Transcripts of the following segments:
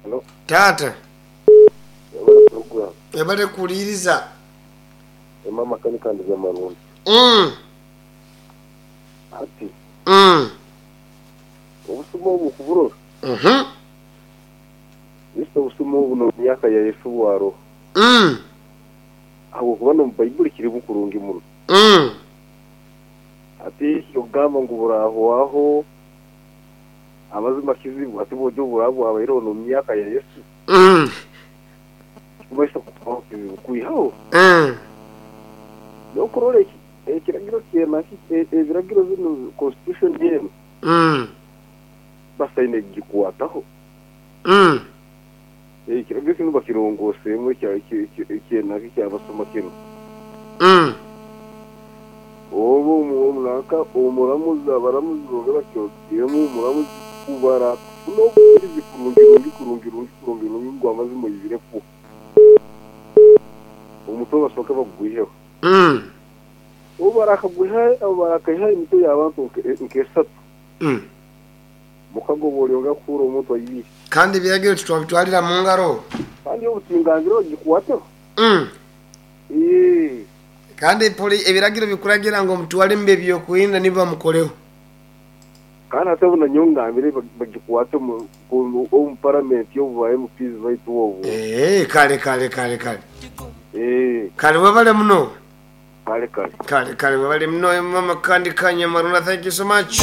Halo. Taata. Webale program. Webale kuwuliriza. Emma makanika ndi Nyamarundu. Hati obusuma obu okuburora, Yesu obusuma obu n'omu myaka ya Yesu bwaroho. Ahabw'okuba n'omu Baibuli kirimu kurungi muno. Hati eky'okugamba ngu burahwaho, amazima kizibu hati bwoija obu buraba bwabaireho n'omu myaka ya Yesu, tikikumanyisa kuhwaho kizibu kwihaho. N'okurora ekiragiro kyena ebiragiro binu, constitution enu, basaine kugikwataho. Ekiragiro kinu bakirongoseemu ekyenanka ekyabasoma kinu. Obu nanka omuramuzi abaramuzi boona bakyogiremu omuramuzi kubara kufuna obujurizi kurungi rungi kurungi rungi kurungi rungi ngu amazima oibirekwo. Omutwe basooke bagugwiheho. Obu barakaihaho emitwe y'abantu nk'esatu. Mukago bw'olyongera kuhuura omuntu aibire. Kandi ebiragiro titwabitwarira mu ngaro. Kandi obutingangire ogikwateho. Ee. Kandi ebiragiro bikuragira ngu omutware omu b'eby'okwerinda nibo bamukoreho. Kandi hati obu nanyowe ngambire bagikwate omu paramenti obu ba MPs baitu obu. Ee, kale, kale, kale, kale. Ee. Kale webale muno. Kale kale. Kale kale webale muno mama kandi Kanyamarunda thank you so much.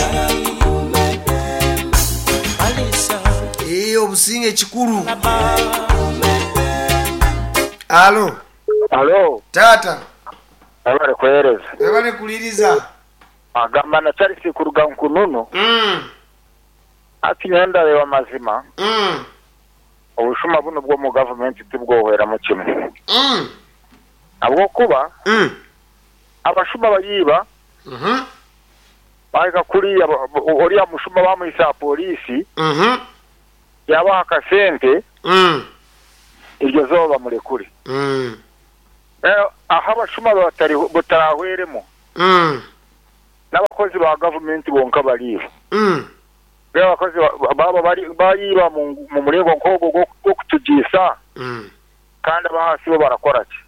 Eeh obusinge kikulu. Alo. Alo. Taata. Webale kuhereza. Webale kuliriza. Agamba na Charles kuruga Nkununu. Hati nyowe ndareba amazima. Obushuma bunu obw'omu gavumenti tibwohweramu kimwe. Ahabw'okuba abashuma bariiba, baahika kuriya oriya mushuma baamuhitsya aha pooriisi, yaabaha akasente, eryo izooba bamurekure. Ahu abashuma butarahweremu, n'abakozi ba gavumenti bonka bariiba. Mbwenu abakozi baaba bariiba omu muringo nk'ogwo gw'okutugiisa, Kandi ab'ahansi bo barakora ki?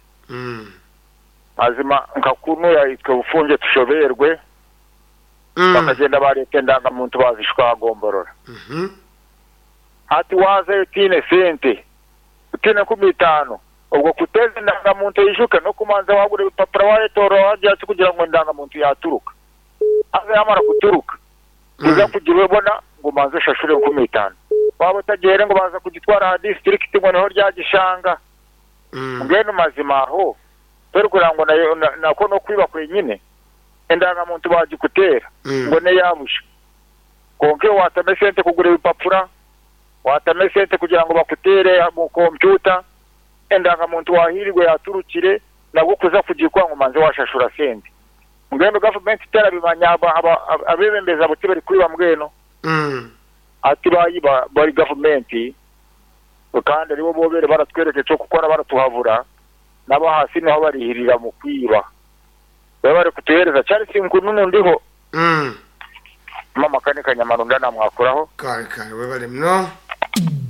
Mazima nka kunuya itwe bufungye tushobeerwe, bakagyenda baareeta endangamuntu baazishuka aha gomborora. Hati waazayo otaine sente, otaine 50,000, obwo kuteeza endangamuntu eijuke n'okubanza waagura ebipapura waayetoorora waagira ki kugira ngu endangamuntu yaaturuka. Haza yaamara kuturuka, kuza kugibona ngu obanze oshashure 5000. Waaba otagihaire ngu baaza kugitwara aha disiturikiti ngu niho oryagishanga. Mbwenu mazima aho torikureeba ngu nakwo n'okwiba kwenyine? Endangamuntu baagikuteera ngu n'eya busha. Kwonka iwe waatamu esente kugura ebipapura, waatamu esente kugira ngu bakuteere omu kompyuta, endangamuntu waahiirwe yaaturukire, nabwo kuza kugikwa ngu obanze waashashura sente. Mbwenu gavumenti terabimanya abebembezi abo tibari kwiba mbwenu hati bayiba bari gavumenti kandi aribo bobere baratwereka ekyokukora baratuhabura nabahansi niho barihirira mukwiba webare kutuhereza Charles Nkununu ndiho mama Makanika Nyamarunda namwakuraho. Kare kare webale muno.